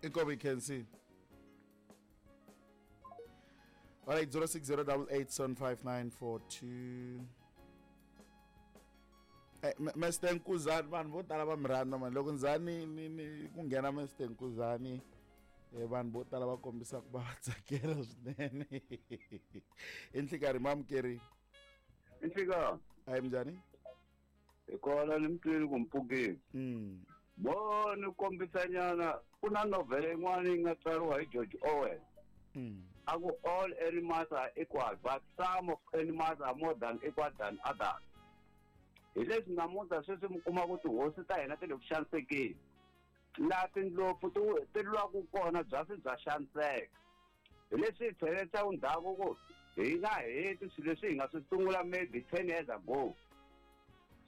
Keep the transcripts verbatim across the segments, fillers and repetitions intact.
Inkomu hi khensile. All right, zero six zero double eight seven five nine four two. Eh, Mister Nkuzani, vanhu vo tala va mi rhandza mani. Loko Nzani ni ni ku nghena Mister Nkuzani, eh, vanhu vo tala va kombisa ku va va tsakela swinene. I nhlikarhi mamukeri. I nhlikarhi. Ayi minjhani? Hi kona ni mi twile ku mi pfukile. Mm. Bo ni kombisanyana ku na novhele yin'wana yi nga tsariwa hi George Orwell. Mm. A ku all animals are equal, but some of animals are more than equal than others. Hi leswi namuntlha sweswi mi kuma ku tihosi ta hina ti le ku xanisekeni. Laha tindlopfu ti ti lwaku kona byasi bya xaniseka. Hi leswi hi tlhelelaka ndzhaku ku hi nga heti swilo leswi hi nga swi sungula maybe ten years ago.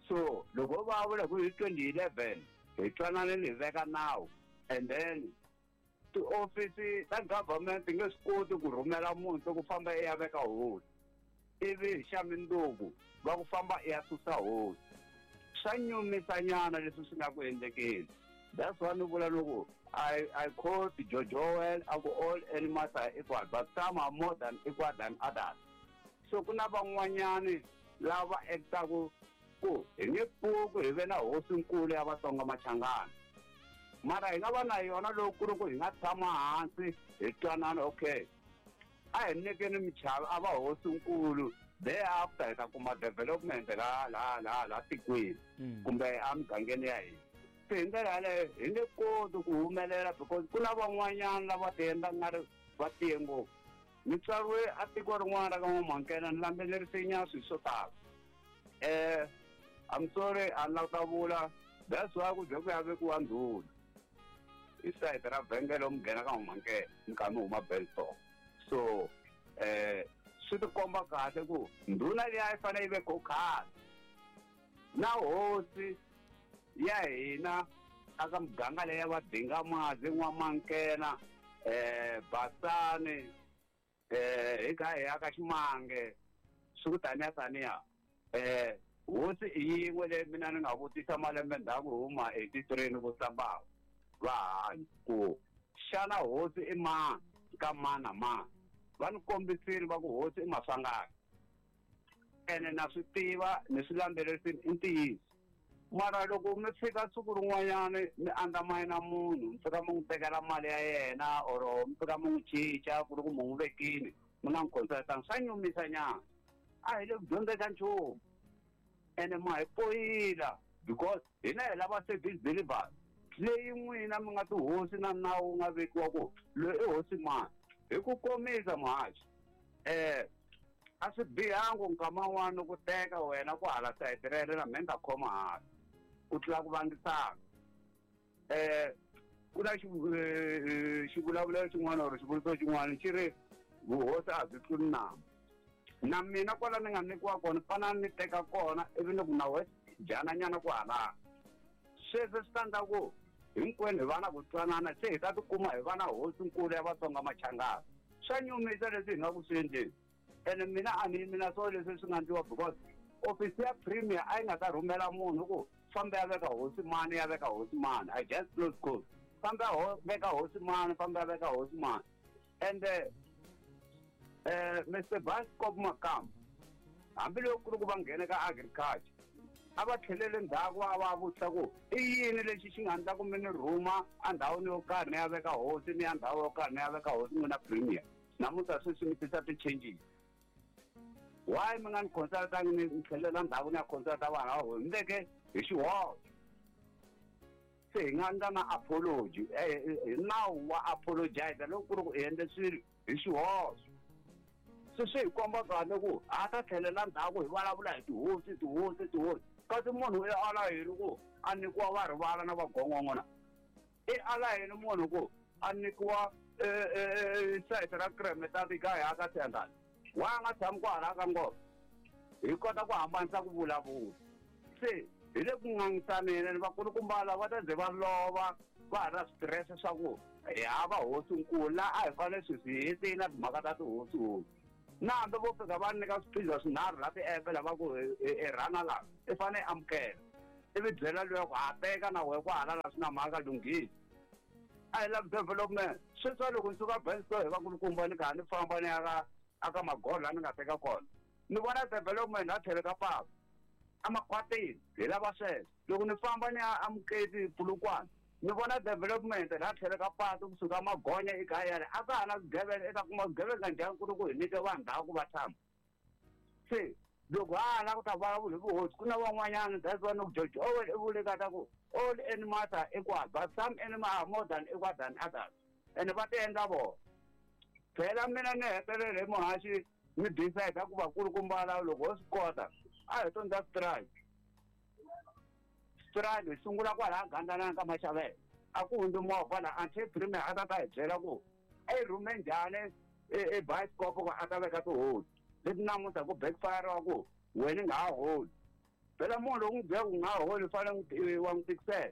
So loko va vula ku hi twenty eleven hi twananile hi veka nawu, and then tiofisi ta government ti nge swi koti ku rhumela munhu ku famba i ya veka hosi, ivi hi xa mundzuku va ku famba i ya susa hosi. Swa nyumisanyana leswi swi nga ku endlekeni. That's why ni vula loko I, I quote George Orwell, a ku all animals are equal, but some are more than equal than others. So ku na van'wanyani lava actaku ku hi nge pfuki hi ve na hosinkulu ya Vatsonga Machangana. Mara hi nga va na yona loko ku ri ku hi nga tshama hansi hi twanana, okay, a hi nyikeni michava a va hosinkulu, thereafter hi ta kuma development la la la la tikweni kumbe emugangeni ya hina. Se hi ndlela yaleyo hi nge koti ku humelela because ku na van'wanyana lava ti endla nga ri va tiye ngopfu. Ni tswariwe a tiko rin'wana ra ka N'wamankena, ni landzelerise nyana swilo swo tala. Eh, I'm sorry, a ni lava ku ta vula, that's why ku ze ku ya vekiwa ndhuna hi sayiti ra vhengele mi nghena ka N'wamankena mi kha mi huma Beltong. So eh swi ti komba kahle ku ndhuna liya yi fanele yi ve ko khale na hosi ya hina aka muganga leyi ya va Dingamazi, N'wamankena, eh Basani, eh hi kha hi ya ka Ximange, swi ku taniya taniya. Eh hosi i yin'we leyi mina ni nga vutisa malembe ndzhaku hi huma eighty-three ni vutisa bava va hanya ku xana hosi i mani ka mani na mani. Va ni kombisile va ku hosi i Maswanganyi, ene na swi tiva ni swi landzelerisile i ntiyiso. Mara loko mi fika siku rin'wanyana mi andzamayina munhu, mi fika mi n'wi tekela mali ya yena or mi fika mi n'wi cinca ku ri ku mi n'wi vekile mi nga n'wi consultanga, swa nyumisa nyana. A hi le ku dyondzeni ka nchumu ene ma hi poyila because hina hi lava service delivery leyi n'wina mi nga tihosi na nawu wu nga vekiwa ku loyi i hosi mani. Hi ku komisa muhaxi, eh a swi bihangi nkama wun'wana ku teka wena ku hala sayiti rero na mina ni ta khoma hala ku tlula ku vangisana. Eh ku na xivulavulelo xin'wana or xivuriso xin'wana xi ri vuhosi a byi tluli nambu. Na mina kwala ni nga nyikiwa kona fana ni teka kona ivi ni ku na we dyananyana ku hala. Sweswo swi ta endla ku hinkwenu hi va na ku twanana, se hi ta tikuma hi va na hosinkulu ya Vatsonga Machangana. Swa nyumisa leswi hi nga ku swi endleni. Ene mina a ni yimi na swona leswi swi nga endliwa because ofisi ya premier a yi nga ta rhumela munhu ku famba ya veka hosi mani ya veka hosi mani. I just close close. Famba ya veka hosi mani, famba ya veka hosi mani. And eh Mister Bascop Makam, hambiloko ku ri ku va nghene ka agriculture, a va tlhelele ndzhaku va va vutisa ku i yini lexi xi nga endla ku mi ni rhuma endhawini yo karhi ni ya veka hosi, ni ya ndhawu yo karhi ni ya veka hosi n'wina premier. Namuntlha sweswi mi tisa ti-changes. Why mi nga ni consultangi ni tlhelela ndzhaku ni ya consulta vanhu va hosi? Mi veke hi xihoxo. Se hi nga endla na apology, hi nawu wa apologize loko ku ri ku hi endle swilo hi xihoxo. Se swi hi komba kahle ku ha ta tlhelela ndzhaku hi vulavula hi tihosi, tihosi, tihosi. Kasi munhu i ala yini ku a nyikiwa va rivala na vagongongo na? I ala yini munhu ku a nyikiwa sayiti ra Kremetart ka hi aka Siyandhani? Why a nga tshami kwala ka ngoma? Hi kota ku hambanisa ku vulavula. Se hi le ku ngangisaneni vakulukumba lava va ta ze va lova va ha na stress swa ku hi hava hosinkulu laha a hi fanele sweswi hi hetile na timhaka ta tihosi hosi. Na hambi vo fika va nyika swiphiza swinharhu la ti-app lava ku i rhana laha i fanele amukela, ivi byela luya ku ha teka na wehe ku hala la swi na mhaka lunghisi. A hi lavi development. Sweswi loko ni suka Bensto hi vakulukumba ni kha ni famba ni ya ka aka Magola ni nga teka kona. Ni vona development a tlhelo ka papa. Amakhwatini hi lava sweswo. Loko ni famba ni ya Amuketi Polokwane ni vona development la tlhelo ka patu kusuka Magonya ekaya a ka ha na swigevenga eka kuma swigevenga njhani ku ri ku hi nyike vanhu ndhawu ku va tshama. Se loko ha la ku ta vulavula hi vuhosi ku na van'wanyana that's why no George Orwell i vule ka ta ku all animals are equal but some animals are more than equal than others and va ti endla vona. Phela mina ni hetelele hi muhaxi ni decide ku vakulukumba lava loko ho swi kota a hi to ndza strike. Strike hi sungula kwalaya Gandlana ka Maxavele a ku hundzi movha laha until premier a ta ta hi byela ku a yi rhume njhani e bioscope ku a ta veka tihosi leti namuntlha ku backfire wa ku wena i nga ha holi. Phela munhu loko n'wi byela ku nga ha holi u fanele wa n'wi tikisela.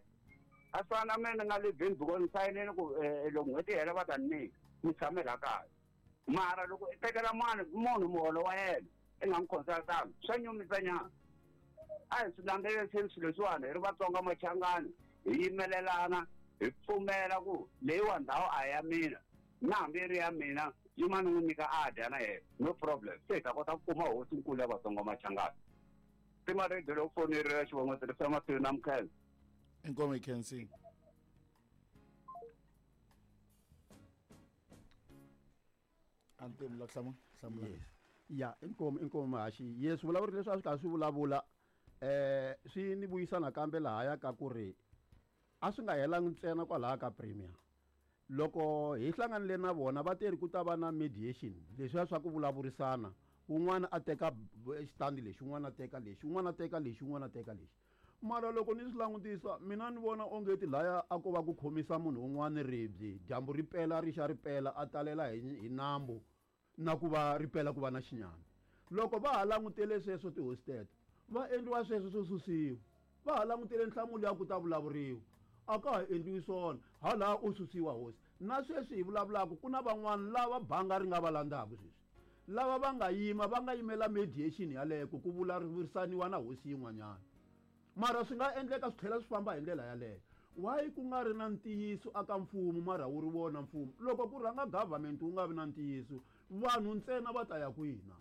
A swi fana na mina ni nga livhini because ni sayinile ku loko n'hweti yi hela va ta ni nyika ni tshame laha kaya. Mara loko i tekela mani munhu muholo wa yena i nga n'wi consultanga swa nyumisa nyana. A hi swi landzeleriseni swilo leswiwani hi ri Vatsonga Machangani hi yimelelana hi pfumela ku leyiwa ndhawu a hi ya mina na hambi yi ri ya mina yima ni n'wi nyika a dya na yena no problem. Se hi ta kota ku kuma hosinkulu ya Vatsonga Machangani. Tima radio loko foneriwa xivongo tirhisa mahlweni na Mkhensa. Inkomo Mkhensi. Antim la hlamula hlamula. Yes. Ya inkomo inkomo Muhaxi. Yes, vulavuri leswi a swi karhi swi vulavula eh swi ni vuyisa nakambe lahaya ka ku ri a swi nga helangi ntsena kwalaya ka premier. Loko hi hlanganile na vona va teri ku ta va na mediation leswiya swa ku vulavurisana un'wana a teka xitandi lexi un'wana a teka lexi un'wana a teka lexi un'wana a teka lexi. Mara loko ni swi langutisa mina ni vona onge ti laya a ko va ku khomisa munhu un'wana ribye dyambu ri pela ri xa ri pela a talela hi hi nambu na ku va ri pela ku va na xinyami. Loko va ha langutele sweswo tihosi teto va endliwa sweswo swo susiwa va ha langutele nhlamulo ya ku ta vulavuriwa a ka ha endliwi swona hala u susiwa hosi. Na sweswi hi vulavulaka ku na van'wana lava banga ri nga va landzaka sweswi lava va nga yima va nga yimela mediation yaleyo ku vulavurisaniwa na hosi yin'wanyana. Mara swi nga endleka swi tlhela swi famba hi ndlela yaleyo. Why ku nga ri na ntiyiso aka mfumo mara wu ri wona mfumo loko ku rhanga government wu nga vi na ntiyiso vanhu ntsena va ta ya kwina.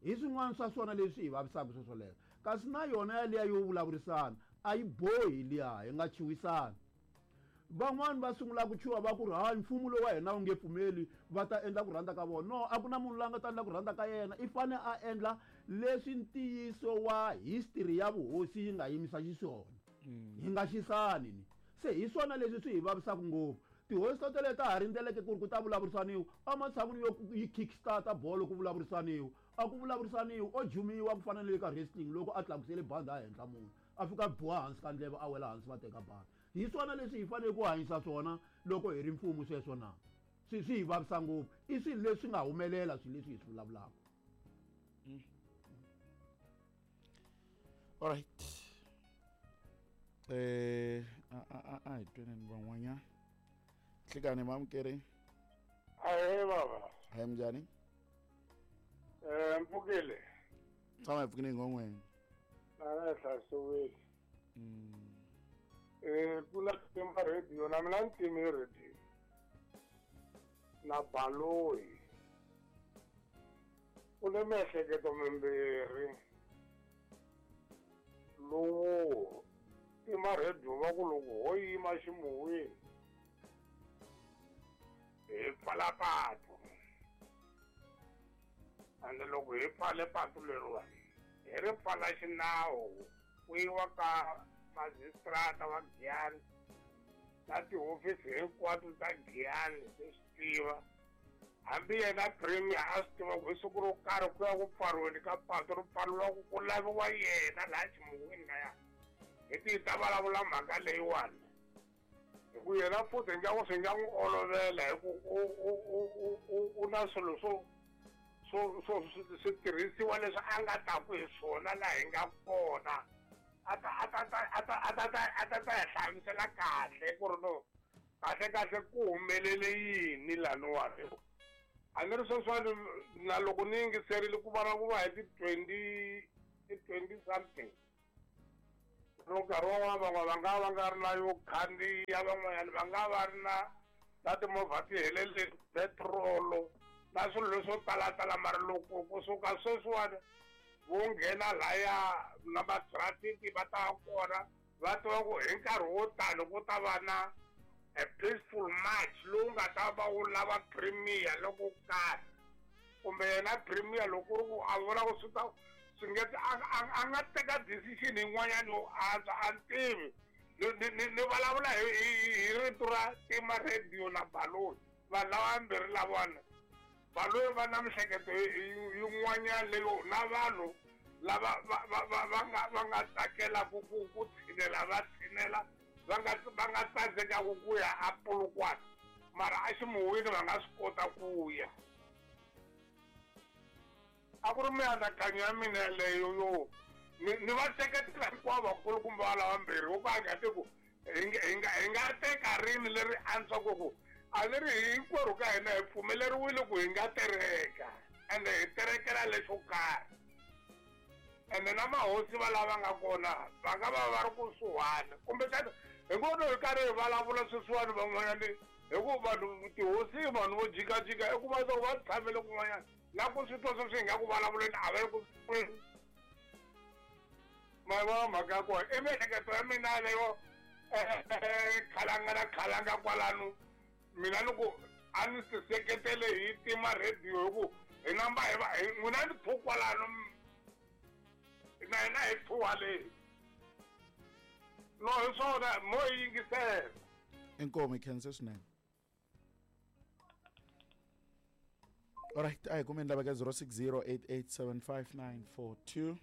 Hi swin'wana swa swona leswi hi vavisaka swoswoleswo kasi na yona yaliya yo vulavurisana a yi bohi liya hi nga chuhisana. Van'wani va sungula ku chuha va ku ri hayi mfumo lowu wa hina wu nge pfumeli va ta endla ku rhandza ka vona. No, a ku na munhu loyi a nga ta endla ku rhandza ka yena i fane a endla leswi ntiyiso wa history ya vuhosi yi nga yimisa xiswona. Hi nga xisani ni se hi swona leswi swi hi vavisaka ngopfu. Tihosi to tele ta ha rindzeleke ku ri ku ta vulavurisaniwa ematshan'wini yo yi kickstarta bolo ku vulavurisaniwa a ku vulavurisaniwa o jumiwa ku fana na le ka wrestling loko a tlakusele bandi a henhla munhu a fika biwa hansi ka ndleve a wela hansi va teka bandi. Hi swona leswi hi fanele ku hanyisa swona loko hi ri mfumo sweswo na swi swi hi vavisa ngopfu. I swilo leswi nga humelela swilo leswi hi swi vulavulaka. All right. Eh a a a hi tweneni van'wanyana. Nhlikani mamukeri. Ahee baba. Hayi minjhani? Eh mpfukile. Tshama hi pfukile ngongweni. Na na hlasiwile. Eh ku la tima radio na mina ni time radio. Na baloyi. U le miehleketo mimbirhi. Lowu tima radio va ku loko ho yima ximuwini hi pfala patu. Ande loko hi pfale patu leriwani hi ri pfala xinawu ku yiwa ka majistrata wa Giyani na tihofisi hinkwato ta Giyani ti swi tiva. Hambi yena premier a swi tiva ku hi siku ro karhi ku ya ku pfariweni ka patu ri pfariwa ku ku laviwa yena laha ximuwini laya hi ti ta vulavula mhaka leyiwani. Hi ku yena futhi nga swi nga n'wi olovela hi ku u u u u u na swilo swo swo swo switirhisiwa leswi a nga taku hi swona laha hi nga kona a ta a ta a ta a ta a ta ta hi hlamusela kahle ku ri no kahle kahle ku humelele yini laniwani. A ni ri sweswiwani na loko ni yingiserile ku vulavuriwa hi ti-twenty ti-twenty something no nkarhi wun'wana van'wana va nga va nga ri na yo khandziya van'wanyana va nga va ri na Na timovha ti helele petrolo na swilo leswo talatala mara loko kusuka sweswiwani vo nghena laya na va-traffic va ta kona va tiva ku hi nkarhi wo tani ku ta va na a peaceful march lowu nga ta va wu lava premier loko karhi kumbe yena premier loko ku ri ku a vona ku swi ta swi nge a a nga teka decision yin'wanyana yo antswa a ni tivi ni ni ni vulavula hi hi rito ra tima radio na Baloyi vanhu lava vambirhi lavana Baloyi va na mihleketo yin'wanyana leyo na vanhu lava va va va va nga va nga tsakela ku ku ku tshinela va tshinela va nga va nga tsandzekaku ku ya a Polokwane mara a ximuwini va nga swi kota ku ya a ku ri mianakanyo ya mina yeleyo yo ni ni va seketela hinkwavo vakulukumba va lava mbirhi wo ku a nga ti ku hi nga hi nga hi nga teka rini leri antswaka ku a ni ri hinkwerhu ka hina hi pfumeleriwile ku hi nga tereka ende hi terekela lexo karhi ende na mahosi va lava nga kona va nga va va ri kusuhani kumbexana hi ngo hi karhi hi vulavula sweswiwani van'wanyani hi ku vanhu tihosi vanhu vo jikajika i ku va va tshamele kun'wanyana na ku swi twa sweswi hi nga ku vulavuleni a va le ku ma yi vona mhaka ya kona i miehleketo ya mina leyo khalanga na khalanga kwalano mina ni ku a ni ti seketele hi tima radio hi ku hi namba hi va n'wina ni thu kwalano na hina hi thuwa leyi no hi swona mo yi yingisela inkomu hi khense swinene alright a hi kumeni lava ka zero six zero eight eight seven five nine four two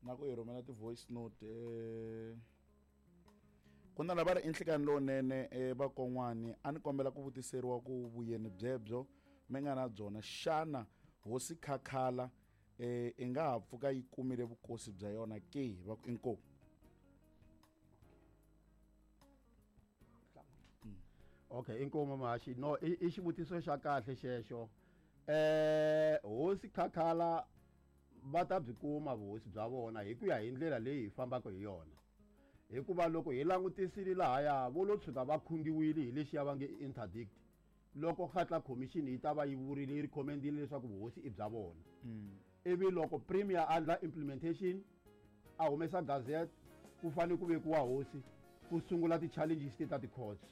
na ku hi rhumela ti-voice note eh ku na lava ri enhlekani lowunene eh vakon'wani a ni kombela ku vutiseriwa ku vuyeni byebyo mi nga na byona xana hosi Khakhala eh i nga ha pfuka yi kumile vukosi bya yona ke va ku inkomu okay inkomu mahaxi no i xivutiso xa kahle xexo eh hosi Khakhala va ta byi kuma vuhosi bya vona hi ku ya hi ndlela leyi hi fambaka hi yona hikuva loko hi langutisile lahaya vo lo tshuka va khungiwile hi lexiya va nge interdict loko Kgatla commission yi ta va yi vurile yi recommendile leswaku vuhosi i bya vona ivi loko premier a endla implementation a humesa gazette ku fanele ku vekiwa hosi ku sungula ti-challenges ti ta ti-courts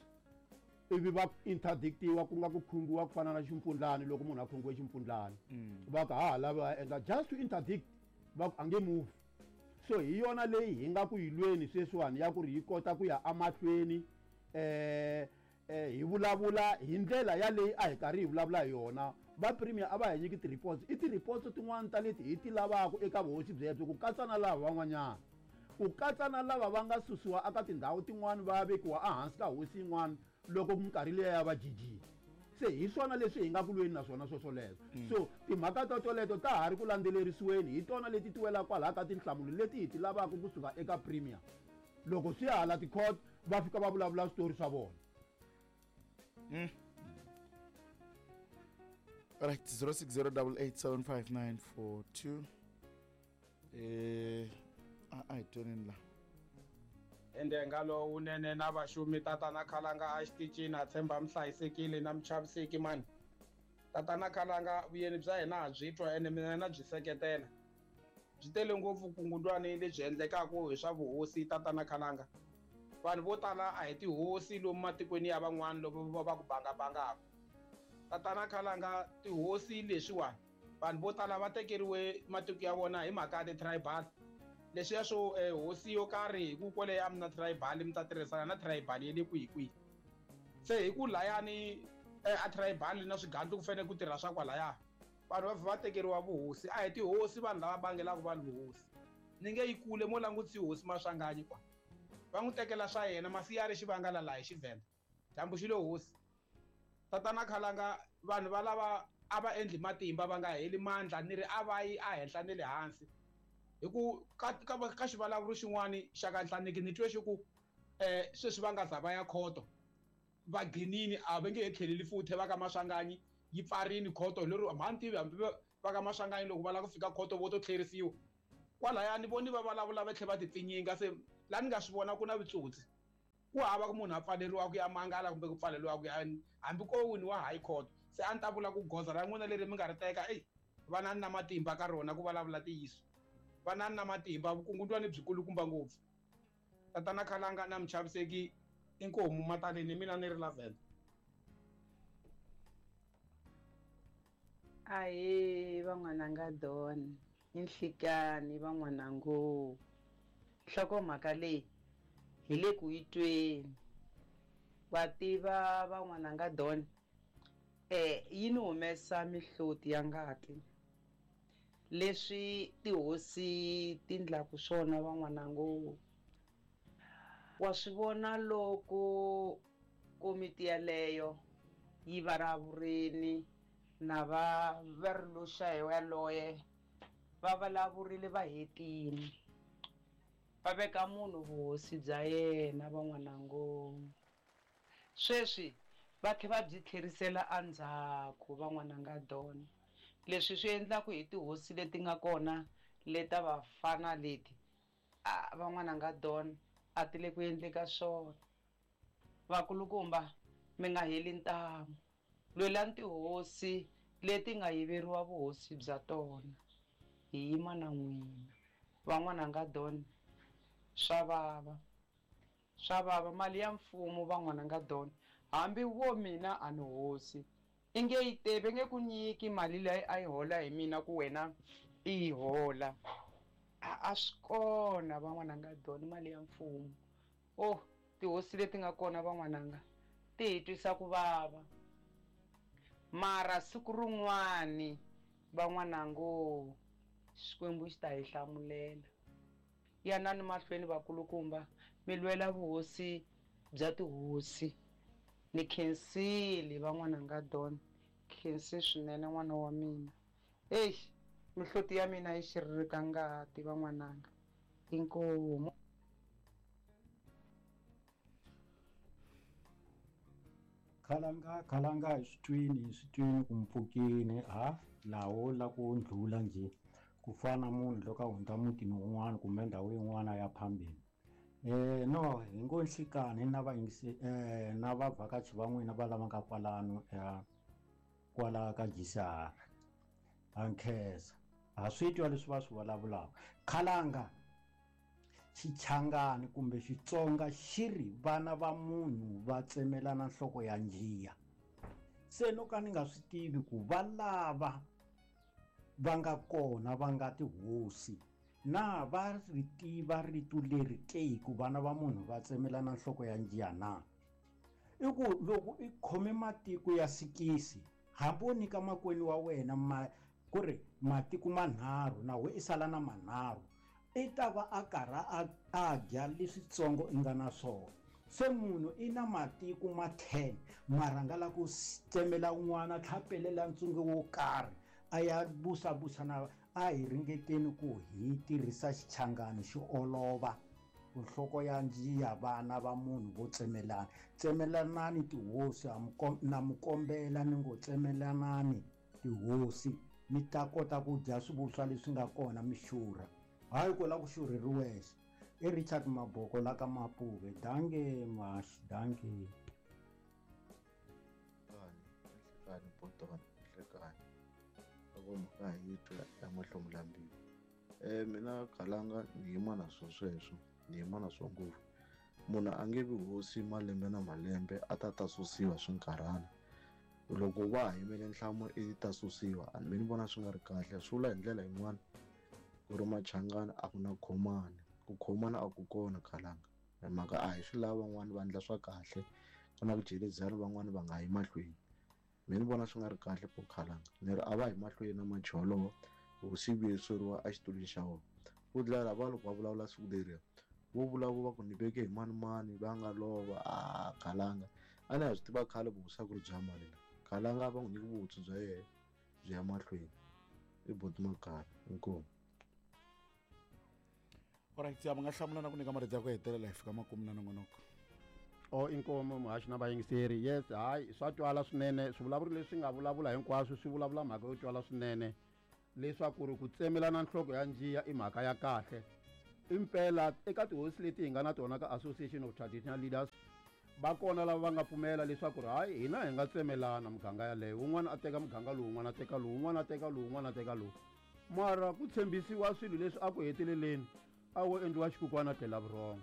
ivi va interdictiwa ku nga ku khungiwa ku fana na ximpfundlani loko munhu a khungiwe ximpfundlani va ku ha ha lavi va endla just to interdict va ku a nge move so hi yona leyi hi nga ku yi lweni sweswiwani ya ku ri yi kota ku ya emahlweni eh hi vulavula hi ndlela ya leyi a hi karhi hi vulavula hi yona va premier a va hi nyiki ti-reports i ti-reports tin'wani ta leti hi ti lavaka eka vuhosi byebyo ku katsa na lava van'wanyana ku katsa na lava va nga susiwa eka tindhawu tin'wani va vekiwa ehansi ka hosi yin'wana loko minkarhi liya ya va jijile se hi swona leswi hi nga ku lweni na swona swoswoleswo so timhaka to toleto ta ha ri ku landzelerisiweni hi tona leti ti welaka kwalaha ka tinhlamulo leti hi ti lavaka kusuka eka premier loko swi ya hala ti-court va fika va vulavula switori swa vona Mm. Right, zero six zero double eight seven five nine four two. Eh, a hi twenini la. Ende ngalo unene na vaxumi tatana Khalanga a xitichini a tshemba mi hlayisekile na mi chaviseki mani. Tatana Khalanga vuyeni bya hina ha byi twa ene mina na byi seketela. Byi tele ngopfu vukungundwani lebyi endlekaka hi swa vuhosi tatana Khalanga. Vanhu vo tala a hi tihosi lomu matikweni ya van'wana lomu va va ku bangabangaka. Tatana Khalanga tihosi leswiwani vanhu vo tala va tekeriwe matiko ya vona hi mhaka ya ti-tribal. Leswiya swo hosi yo karhi hi ku kwale a mi na tribal mi ta tirhisana na tribal ya le kwihi kwihi. Se hi ku layani a tribal na swigandlu ku fanele ku tirha swa kwalaya vanhu va va tekeriwa vuhosi a hi tihosi vanhu lava bangelaka vanhu vuhosi. Ni nge yi kule mo langutisi hosi Maswanganyi kwa. Va n'wi tekela swa yena masi ya ri xivangala laha hi Xivenda dyambu xi lo hosi. Tatana Khalanga vanhu va lava a va endli matimba va nga heli mandla ni ri a va yi ehenhla ni le hansi hi ku ka ka ka xivulavuri xin'wani xa ka Nhlaniki ni twe xi ku eh sweswi va nga za va ya khoto va gcinini a va nge he tlheleli futhi va ka Maswanganyi yi pfarini khoto lero mhani tivi hambi va ka Maswanganyi loko va lava ku fika khoto vo to tlherisiwa kwalaya ni voni va vulavula va tlhela va ti pfinyinga se laha ni nga swi vona ku na vutsotsi Ku hava ku munhu a pfaleriwa ku ya mangala kumbe ku pfaleriwa ku ya hambi ko winiwa high court. Se a ni ta vula ku goza ra n'wina leri mi nga ri teka eyi vanani na matimba ka rona ku vulavula ntiyiso. Vanani na matimba vukungundwani byi kulukumba ngopfu. Tatana Khalanga na Muchaviseki inkomu mataleni mina ni ri Lavender. Ahe van'wananga Don i nhlikani van'wanango. Nhlokomhaka leyi hi le ku yi tweni. Wa tiva van'wananga Don eh yi ni humesa mihloti ya ngati. Leswi tihosi ti ndlaku swona van'wanango. Wa swi vona loko komiti yaleyo yi varavurini na va va ri loxa hi yaloye va vulavurile va hetile va veka munhu vuhosi bya yena van'wanango. Sweswi va tlhe va byi tlherisela endzhaku van'wananga Don. Leswi swi endlaku hi tihosi leti nga kona leta vafana leti a van'wananga Don a ti le ku endleka swona. Vakulukumba mi nga heli ntamu. Lwelani tihosi leti nga yiveriwa vuhosi bya tona. Hi yima na n'wina. Van'wananga Don swa vava. Swa vava mali ya mfumo van'wananga Don. Hambi wo mina a ni hosi. I nge yi tevi nge ku nyiki mali leyi a yi hola hi mina ku wena i yi hola. A swi kona van'wananga Don mali ya mfumo. Oh tihosi leti nga kona van'wananga ti hi twisa ku vava. Mara siku rin'wani van'wanango Xikwembu xi ta hi hlamulela. Yanani mahlweni vakulukumba mi lwela vuhosi bya tihosi. Ni khensile van'wananga Don. Khensi swinene n'wana wa mina. Eyi mihloti ya mina yi xiririka ngati van'wananga. Inkomu. Khalanga Khalanga hi swi twini hi swi twini ku mpfukini ha lawo la ku ndlhula njhe ku fana munhu loko a hundza mutini wun'wana kumbe ndhawu yin'wana ya phambili. Eh no hi ngo nhlikani na vayingisi eh na vavhakachi va n'wina va lava nga kwalano ya kwala ka G C R. Ha nkhensa. Ha swi twa leswi va swi vulavulaka. Khalanga Xichangani kumbe Xitsonga xi ri vana va munhu va tsemelana nhloko ya njiya. Se no ka ni nga swi tivi ku va lava va nga kona va nga tihosi na va ri tiva rito leri ke ku vana va munhu va tsemelana nhloko ya njiya na. I ku loko i khome matiko ya sikisi hambi wo nyika makwenu wa wena ma ku ri matiko manharhu na we i sala na manharhu i ta va a karhi a a dya leswitsongo i nga na swona. Se munhu i na matiko ma ten mara nga la ku tsemela un'wana a tlhapelela ntsongo wo karhi a ya busabusa na a hi ringeteni ku hi tirhisa Xichangani xi olova ku nhloko ya njiya vana va munhu vo tsemelana. Tsemelanani tihosi na mi kombela ni ngo tsemelanani tihosi mi ta kota ku dya swivuswa leswi nga kona mi xurha. Hayi ku la ku xurheriwexe. I Richard Maboko la ka Mapuve. Danke Mash, danke. Nhlikani Botoni, nhlikani. Loko mhaka hi twa ya mahlomulambilu. Eh mina Khalanga ni yima na swo sweswo, ni yima na swo ngopfu. Munhu a nge vi hosi malembe na malembe a ta ta susiwa swinkarhana. Loko va ha yimele nhlamulo i ta susiwa, a ni vona swi nga ri kahle. Swi vula hi ndlela yin'wana ku ri Machangani a ku na khomani. Ku khomana a ku kona Khalanga. Hi mhaka a hi swi lava van'wani va endla swa kahle, ku na ku jelezana van'wani va nga yi mahlweni. Mina ni vona swi nga ri kahle po Khalanga. Ni ri a va yi mahlweni na majolo hosi yi vuyiseriwa exitulwini xa vona. Ku dlala va loko va vulavula siku leriya vo vulavula va ku ni veke hi mani mani va nga lova a Khalanga. A ni ha swi tiva khale vuhosi a ku ri bya mani la. Khalanga va n'wi nyiki vuhosi bya yena byi ya mahlweni. I Boti Makaya. Inkomu. Alright, ya nga hlamula na ku nyika marito ya ku hetelela hi fika makumu na nongonoko. O inkomu muhaxi na vayingiseri. Yes, hayi swa twala swinene swivulavuri leswi nga vulavula hinkwaswo swi vulavula mhaka yo twala swinene leswaku ri ku tsemelana nhloko ya njiya i mhaka ya kahle. Impela eka tihosi leti hi nga na tona ka Association of Traditional Leaders va kona lava va nga pfumela leswaku ri hayi hina hi nga tsemelana muganga yaleyo, wun'wana a teka muganga lowu, wun'wana a teka lowu, wun'wana a teka lowu, wun'wana a teka lowu. Mara ku tshembisiwa swilo leswi a ku heteleleni a wo endliwa xikukwana tlela vurhongo,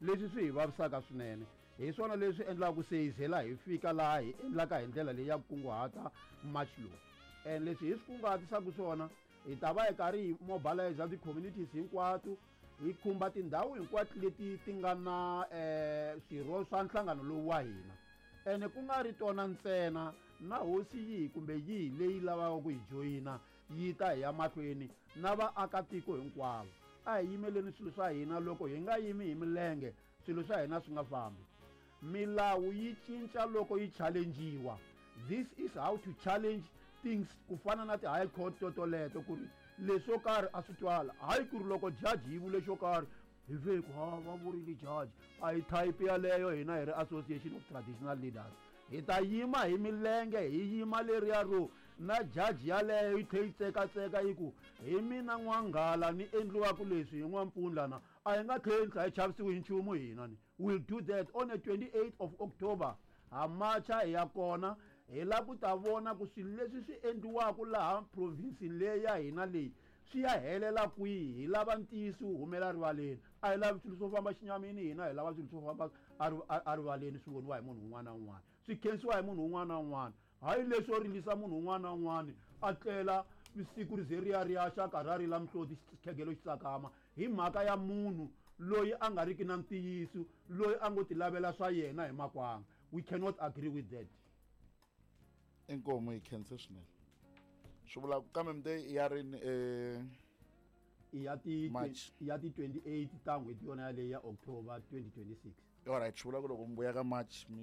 leswi swi hi vavisaka swinene. Hi swona leswi endlaka se hi zela hi fika laha hi endlaka hi ndlela leyi ya ku kunguhata March lowu. And leswi hi swi kunguhatisaka swona, hi ta va hi karhi hi mobilize ti-communities hinkwato, hi khumba tindhawu hinkwato leti ti nga na eh, swirho swa nhlangano lowu wa hina. Ene ku nga ri tona ntsena, na hosi yihi kumbe yihi leyi lavaka ku hi joyina yi ta hi ya mahlweni na vaakatiko hinkwavo. A hi yimeleni swilo swa hina, loko hi nga yimi hi milenge swilo swa hina swi nga fambi. Milawu yi cinca loko yi challengiwa. This is how to challenge things, ku fana na ti-high court totoleto, ku ri leswo karhi a swi twala. Hayi ku ri loko judge yi vule xo karhi hi ve ku ha va vurile judge. A hi type yaleyo hina hi ri Association of Traditional Leaders. Hi ta yima hi milenge, hi yima leriya ro na judge yaleyo yi tlhe yi tsekatseka yi ku hi mina N'wanghala ni endliwaka leswi hi N'wampfundla na a hi nga tlheli tlha hi chavisiwi hi nchumu hina ni. We'll do that on the twenty-eighth of October. Ha macha hi ya kona, hi lava ku ta vona ku swilo leswi swi endliwaka laha province-ini leyi ya hina leyi swi ya helela kwihi. Hi lava ntiyiso wu humela rivaleni. A hi lavi swilo swo famba xinyamini hina, hi lava swilo swo famba a rivaleni, swi voniwa hi munhu un'wana na un'wana, swi khensiwa hi munhu un'wana na un'wana. Hayi leswo rilisa munhu un'wana na un'wana a tlela siku ri ze ri ya ri ya xa karhi a rila mihloti xikhegelo xi tsakama hi mhaka ya munhu loyi a nga riki na ntiyiso, loyi a ngo ti lavela swa yena hi makwanga. We cannot agree with that. Inkomu yi khense swinene. Swi vula kambe mi te ya rini eh ya ti March. ya ti twenty-eight ta n'hweti yona yaleyo ya October twenty twenty-six. Alright, swi vula ku loko mi vuya ka March mi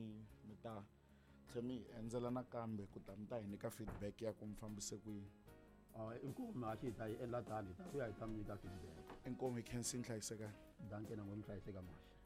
mi ta tlhe mi endzela nakambe ku ta mi ta hi nyika feedback ya ku mi fambise ku yini. Ah, inkomu haxi hi ta yi endla tani, hi ta vuya hi ta mi nyika feedback. Inkomu yi khensi nhlayisekani. Danke na n'we mi hlayiseka March.